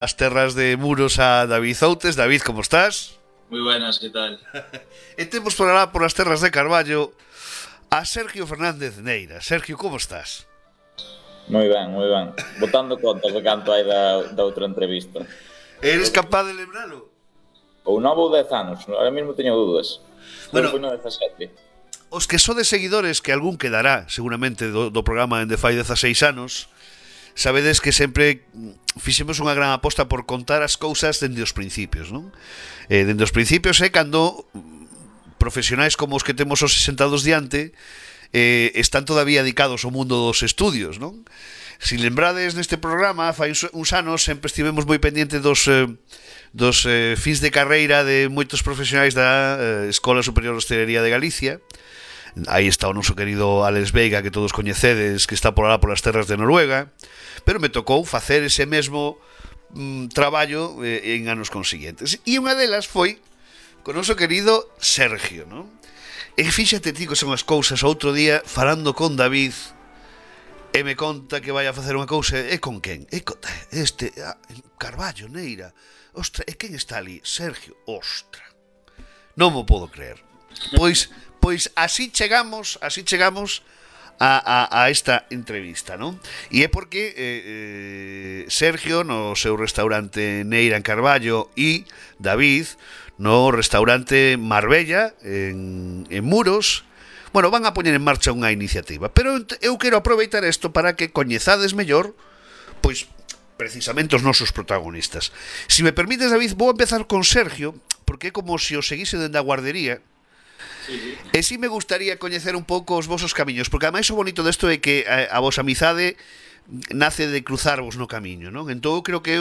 As terras de Muros a David Outes. David, como estás? Muy buenas, ¿qué tal? E temos por alá por as terras de Carballo a Sergio Fernández Neira. Sergio, como estás? Moi ben, moi ben. Botando contas de canto hai da outra entrevista. Eres capaz de lembralo? Ou 9 ou 10 anos, ahora mesmo teño dúdas. Bueno, Foi no 17. os que sodes seguidores, que algún quedará seguramente do programa en de fai 16 anos, sabedes que sempre fixemos unha gran aposta por contar as cousas dende os principios, non? Dende os principios é cando profesionais como os que temos os sentados diante están todavía dedicados ao mundo dos estudios, non? Si lembrades neste programa, fai uns anos sempre estivemos moi pendientes dos fins de carreira de moitos profesionais da Escola Superior de Hostelería de Galicia. Aí está o noso querido Alex Veiga, que todos coñecedes, que está por alá polas terras de Noruega, pero me tocou facer ese mesmo traballo en anos consiguientes. E unha delas foi con o noso querido Sergio, non? E fíxate ti que son as cousas. Outro día, falando con David, e me conta que vai a facer unha cousa. E con quen? Carballo, Neira. Ostra, e quen está ali? Sergio. Ostra, non mo podo creer. Pois así chegamos a esta entrevista, non? E é porque Sergio no seu restaurante Neira en Carballo e David no restaurante Marbella en Muros, bueno, van a poñer en marcha unha iniciativa. Pero eu quero aproveitar isto para que coñezades mellor, pois, precisamente os nosos protagonistas. Si me permites, David, vou empezar con Sergio, porque é como se o seguise dende a guardería. E si me gustaría coñecer un pouco os vosos camiños, porque ademais o bonito desto é que a vosa amizade nace de cruzarvos no camiño, non? Entón eu creo que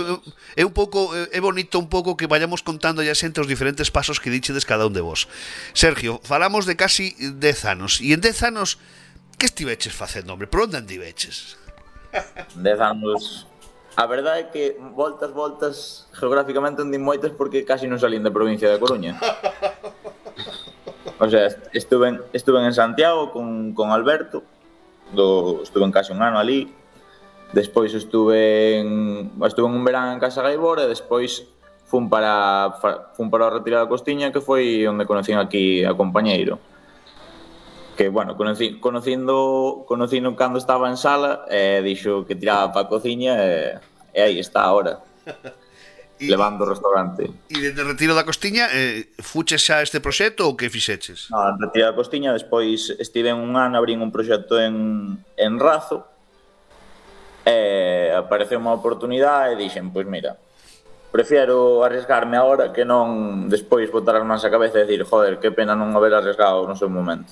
é un pouco é bonito un pouco que vayamos contando ya xente os diferentes pasos que dichedes cada un de vos. Sergio, falamos de casi 10 anos, e en 10 anos que estiveches facendo, hombre? Por onde andiveches? 10 anos. A verdade é que voltas geográficamente andín moitas porque casi non salín da provincia da Coruña. O sea, estuve en Santiago con Alberto, estuve en casi un ano ali. Despois estuve en un verán en Casa Gaibor e despois fun para o Retiro da Costiña, que foi onde conocín aquí a compañeiro. Que, bueno, conocindo cando estaba en sala, dixo que tiraba para a cociña e aí está ahora. Levando o restaurante. E dende o Retiro da Costiña fuches xa este proxecto ou que fixeches? No, en Retiro da Costiña, despois estive un ano, abrín un proxecto en Razo e apareceu unha oportunidade e dixen, pois mira, prefiero arriesgarme agora que non despois botar as mans a cabeza e decir, joder, que pena non haber arriesgado no seu momento.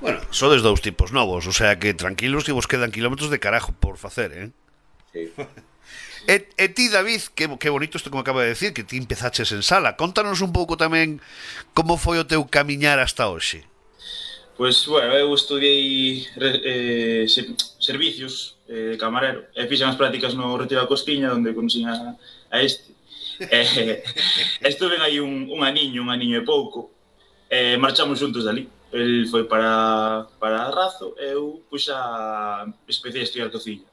Bueno, sodes dous tipos novos, o sea que tranquilos que vos quedan kilómetros de carajo por facer, Sí. E ti, David, que bonito isto que me acaba de decir, que ti empezaches en sala. Contanos un pouco tamén como foi o teu camiñar hasta hoxe. Pois, bueno, eu estudiei servicios de camarero e fixen as prácticas no Retiro da Costiña, onde conocín a este. Estuve aí un aniño e pouco, e marchamos juntos dali. El foi para Razo e eu xa empecé a estudiar cociña.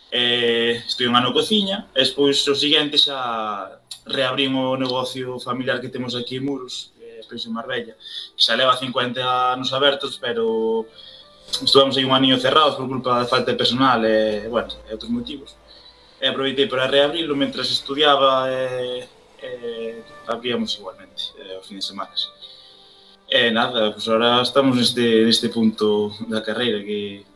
Estuve un ano cociña e despois o seguinte xa reabrín o negocio familiar que temos aquí en Muros, despois en Marbella, que xa leva 50 anos abertos, pero estuvemos aí un aniño cerrados por culpa da falta de personal e, bueno, e outros motivos. E aproveitei para reabrilo mentras estudiaba e abríamos igualmente os fins de semana. E nada, pues ahora estamos neste punto da carreira que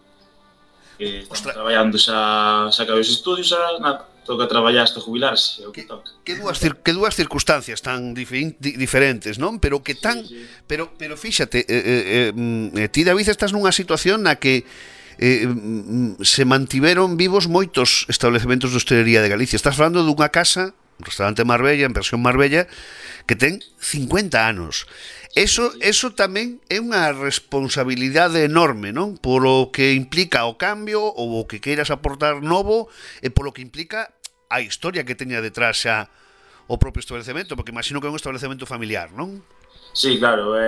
estamos traballando, xa acabei os estudios, xa nada, toca traballar hasta jubilarse, é o que toca. Que dúas circunstancias tan diferentes, non? Pero que tan... Sí. Pero fíxate, ti, David, estás nunha situación na que se mantiveron vivos moitos establecementos de hostelería de Galicia. Estás falando dunha casa, un restaurante Marbella, en versión Marbella, que ten 50 anos. Eso tamén é unha responsabilidade enorme, non? Polo que implica o cambio ou o que queiras aportar novo e polo que implica a historia que teña detrás xa o propio establecemento, porque imagino que é un establecemento familiar, non? Sí, claro,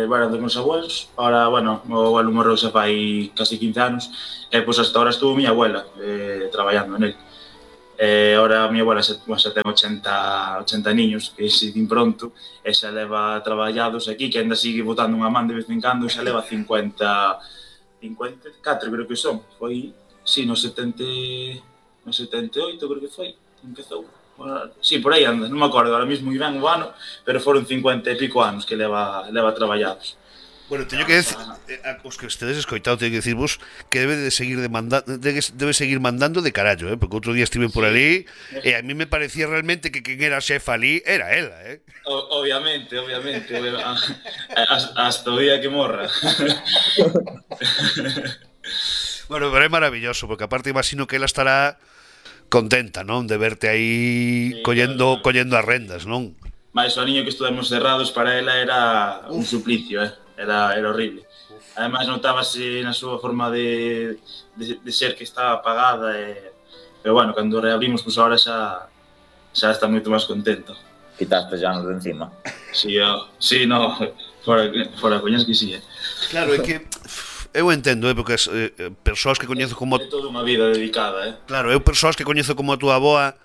bueno, dos meus abuelos, ahora, bueno, o abuelo morreu xa fai casi 15 anos, e pois hasta ahora estuvo miña abuela traballando en él. Ahora a mi abuela xa ten 80 niños, que se din pronto, e xa leva traballados aquí, que ainda sigue botando unha man de vez en cando, xa leva 54 creo que son. Foi, sí, no 78 creo que foi, empezou. Sí, por aí anda, non me acordo ahora mismo ben o ano, pero foron 50 e pico anos que leva traballados. Bueno, teño que decir, os que estedes escoitado, teño que decirvos que debe de seguir debe seguir mandando de carallo, porque outro día estive por ali e a mí me parecía realmente que quen era xefa ali era ela, Obviamente, hasta o día que morra. Bueno, pero é maravilloso, porque aparte imagino que ela estará contenta, non? De verte aí collendo as rendas, non? Mais o niño que estuvemos cerrados para ela era un suplicio, era horrible. Ademais notábase na súa forma de ser que estaba apagada, pero bueno, cando reabrimos, pois agora xa está moito máis contento. Quitaste xa nos de encima. Sí, no, fora coñas que sí, Claro, é que eu entendo, porque as persoas que coñezo como... É toda unha vida dedicada, Claro, eu persoas que coñezo como a túa aboa,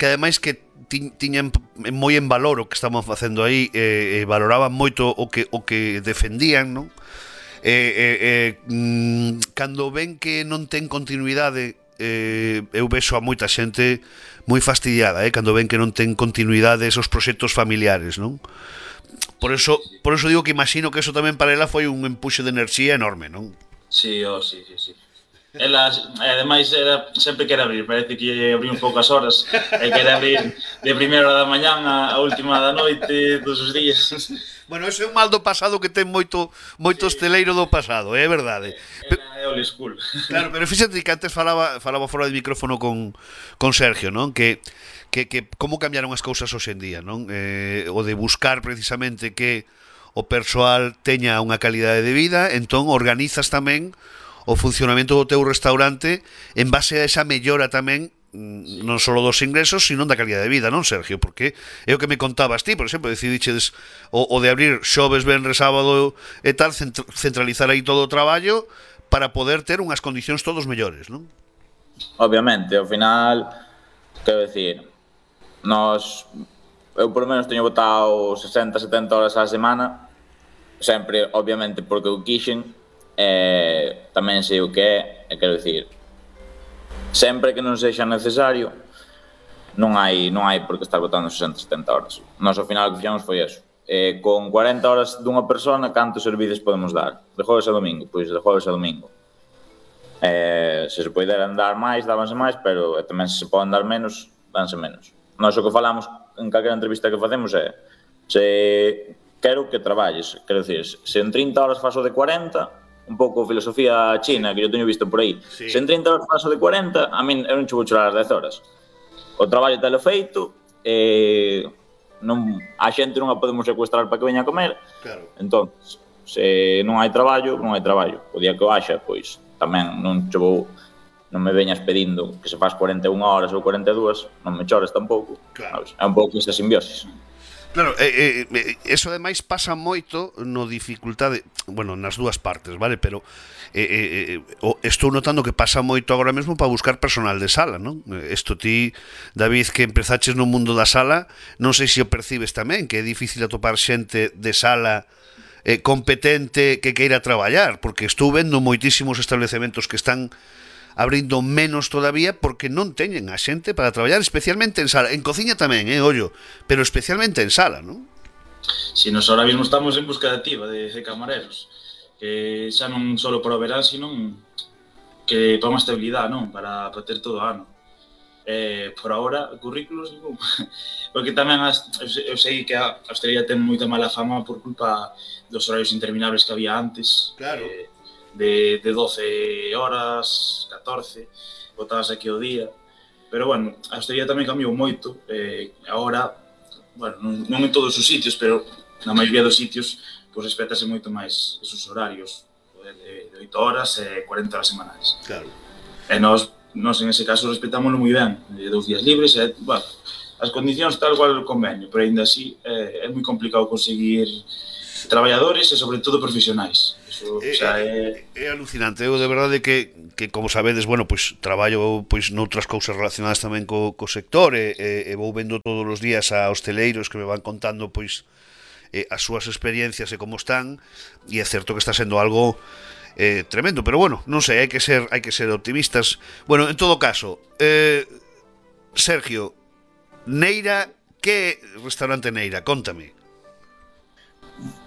que ademais que tiñan moi en valor o que estaban facendo aí, valoraban moito o que defendían, non? Cando ven que non ten continuidade, eu vexo a moita xente moi fastidiada, cando ven que non ten continuidade esos proxectos familiares, non? Por eso digo que imagino que eso tamén para ela foi un empuxe de enerxía enorme, non? Sí. Ela, ademais, sempre quere abrir, parece que abrimos poucas horas, e quere abrir de primeira hora da mañán a última da noite, todos os días. Bueno, ese é un mal do pasado que ten moito hosteleiro do pasado, é verdade. É old school. Claro, pero fíxate que antes falaba fora de micrófono con Sergio, non? Que como cambiaron as cousas hoxe en día, non? O de buscar precisamente que o persoal teña unha calidade de vida, entón organizas tamén o funcionamento do teu restaurante en base a esa mellora tamén non só dos ingresos, sino da calidad de vida, non, Sergio? Porque é o que me contabas ti, por exemplo, decidiches o de abrir xoves, venres, sábado e tal, centralizar aí todo o traballo para poder ter unhas condicións todos mellores, non? Obviamente, ao final, quero decir, eu por lo menos teño botado 60-70 horas á semana, sempre, obviamente, porque eu quixen, tamén sei o que é, quero dicir, sempre que non sexa necesario, non hai por que estar botando 60-70 horas. Nós ao final o que fixamos foi eso. Con 40 horas dunha persona, cantos servides podemos dar? De jueves a domingo? Pois de jueves a domingo. Se se poderan dar máis, dábanse máis, pero tamén se poden dar menos, danse menos. Nós o que falamos en calquera entrevista que facemos é se quero que traballes, quero dicir, se en 30 horas faso de 40, un pouco filosofía china que eu teño visto por aí. Sí. Se en 30 horas paso de 40, a min eu non che vou chorar as 10 horas. O traballo telo feito, a xente non a podemos secuestrar para que veña a comer. Claro. Entón, se non hai traballo, non hai traballo. O día que o haxa, pois tamén non me veñas pedindo que se faz 41 horas ou 42, non me chores tampouco. Claro. É un pouco esta simbiosis. Claro, eso ademais pasa moito no dificultade, bueno, nas dúas partes, vale? Pero estou notando que pasa moito agora mesmo para buscar personal de sala, non? Isto ti, David, que empezaches no mundo da sala, non sei se o percibes tamén, que é difícil atopar xente de sala competente que queira traballar, porque estou vendo moitísimos establecementos que están abrindo menos todavía porque non teñen a xente para traballar, especialmente en sala. En cociña tamén, ollo, pero especialmente en sala, non? Si, nos ahora mismo estamos en búsqueda activa de camareros, que xa non só para o verán, sino que para unha estabilidade, non? Para ter todo o ano. Por ahora, currículos, non? Porque tamén eu sei que a hostelería ten moita mala fama por culpa dos horarios interminables que había antes. Claro. De 12 horas, 14, botabas aquí o día. Pero, bueno, a hostelería tamén cambiou moito. Agora, bueno, non en todos os sitios, pero na maioría dos sitios, pois respétase moito máis esos horarios de 8 horas e 40 horas semanais. Claro. E nós en ese caso respetámoslo moi ben, 2 días libres, bueno, as condicións tal cual o convenio, pero ainda así é moi complicado conseguir traballadores e sobre todo profesionais. Eso, o sea, é alucinante. Eu de verdade que como sabedes, bueno, pois traballo pois noutras cousas relacionadas tamén co sector e vou vendo todos os días a hosteleiros que me van contando pois as súas experiencias e como están, e é certo que está sendo algo tremendo, pero bueno, non sei, hai que ser optimistas. Bueno, en todo caso, Sergio, Neira, que restaurante Neira? Contame.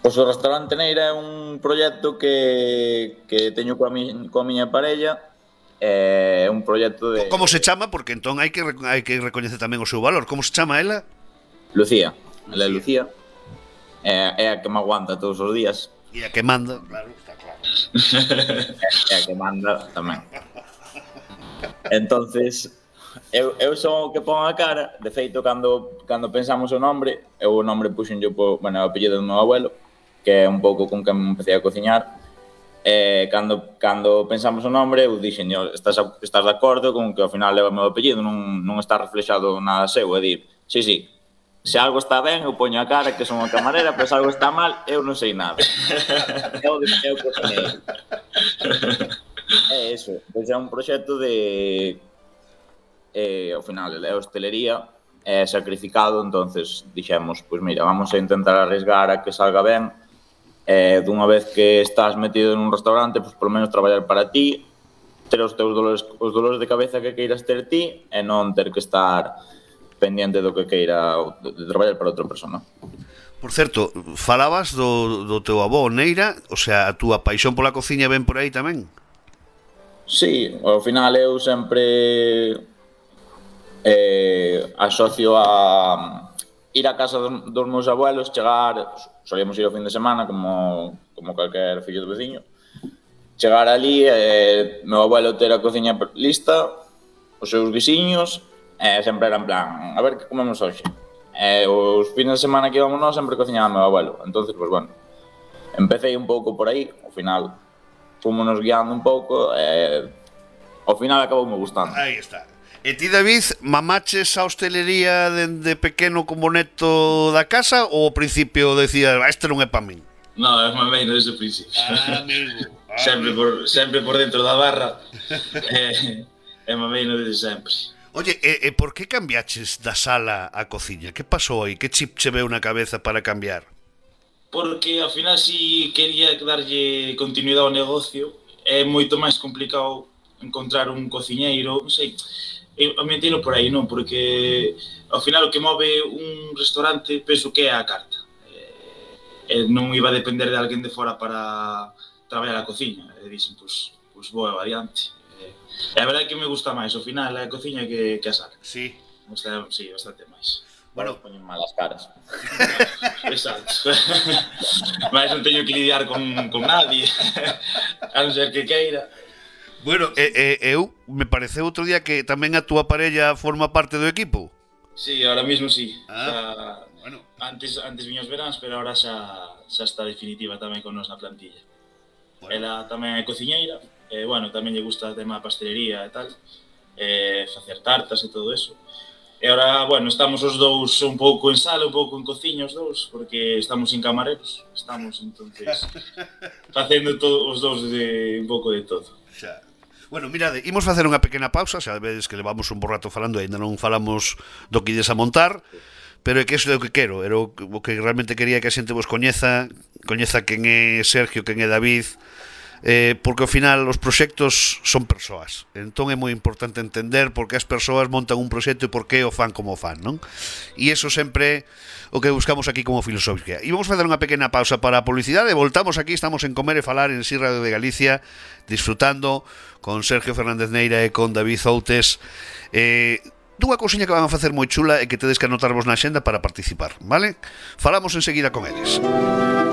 Pois o restaurante Neira é un proxecto que teño coa miña parella. É un proxecto de... Como se chama? Porque entón hai que recoñecer tamén o seu valor. Como se chama ela? Lucía. Ela é Lucía. É a que me aguanta todos os días. E a que manda, claro, está claro. É a que manda tamén. Entonces, eu son o que pon a cara. De feito, cando pensamos o nome puxen yo o apellido do meu abuelo, que é un pouco con que me empecé a cociñar. Cando pensamos o nome, eu dixen, estás de acordo con que ao final leva o meu apellido, non está reflexado nada seu, é dir, sí, se algo está ben, eu poño a cara que son a camarera, pero se algo está mal, eu non sei nada. Eu cociñei. É iso, pois é un proxecto de... ao final é hostelería, é sacrificado, entonces dixemos, pois mira, vamos a intentar arriesgar a que salga ben, dunha vez que estás metido nun restaurante, pois polo menos traballar para ti, ter os teus dolores de cabeza que queiras ter ti, e non ter que estar pendiente do que queira de traballar para outra persona. Por certo, falabas do teu avó Neira, o sea, a túa paixón pola cociña ven por aí tamén? Sí, ao final eu sempre asocio a ir a casa dos meus abuelos, chegar, solíamos ir ao fin de semana como calquer fillo do veciño, chegar ali, meu abuelo ter a cociña lista, os seus guisiños, sempre era en plan, a ver que comemos hoxe. Os fines de semana que íbamos nós sempre cociñaba meu abuelo, entonces, pues bueno, empecé un pouco por aí, ao final fomos guiando un pouco, ao final acabou me gustando. Aí está. E ti, David, mamaches a hostelería dende pequeno como neto da casa ou ao principio decías, este non é pa min? Non, é mamei desde o principio. Amigo. Sempre por dentro da barra. É mamei desde sempre. Oye, e por que cambiaches da sala á cociña? Que pasou aí? Que chip che veu na cabeza para cambiar? Porque ao final si quería darlle continuidade ao negocio, é moito máis complicado encontrar un cociñeiro, non sei, a mí entendo por aí, non? Porque ao final o que move un restaurante penso que é a carta. Non iba a depender de alguén de fora para traballar a cociña. E dixen, pois vou adiante. E a verdade é que me gusta máis ao final a cociña que a sala. Sí. Me gusta, sí, bastante máis. Bueno, poñen malas caras. Exacto. Mas non teño que lidiar con nadie, a non ser que queira. Bueno, eu me pareceu outro día que tamén a túa parella forma parte do equipo. Sí, ahora mismo sí. Bueno. Antes viña os veráns, pero ahora xa está definitiva tamén con nos na plantilla. Bueno. Ela tamén é cociñeira, bueno, tamén lle gusta o tema da pastelería e tal, facer tartas e todo eso. E ahora, bueno, estamos os dous un pouco en sala, un pouco en cociña os dous, porque estamos sin camareros, estamos entonces facendo os dous un pouco de todo. Xa. Bueno, mirade, imos facer unha pequena pausa, xa vedes que levamos un bo rato falando e ainda non falamos do que ides a montar, pero é que iso é o que quero, era o que realmente quería que a xente vos coñeza quen é Sergio, quen é David, porque ao final os proxectos son persoas, entón é moi importante entender por que as persoas montan un proxecto e por que o fan como o fan, non? E iso sempre o que buscamos aquí como filosofía. E vamos facer unha pequena pausa para a publicidade e voltamos aquí, estamos en Comer e Falar en Si Radio de Galicia, disfrutando con Sergio Fernández Neira e con David Outes dunha cousiña que van a facer moi chula e que tedes que anotarvos na axenda para participar, vale? Falamos enseguida con eles.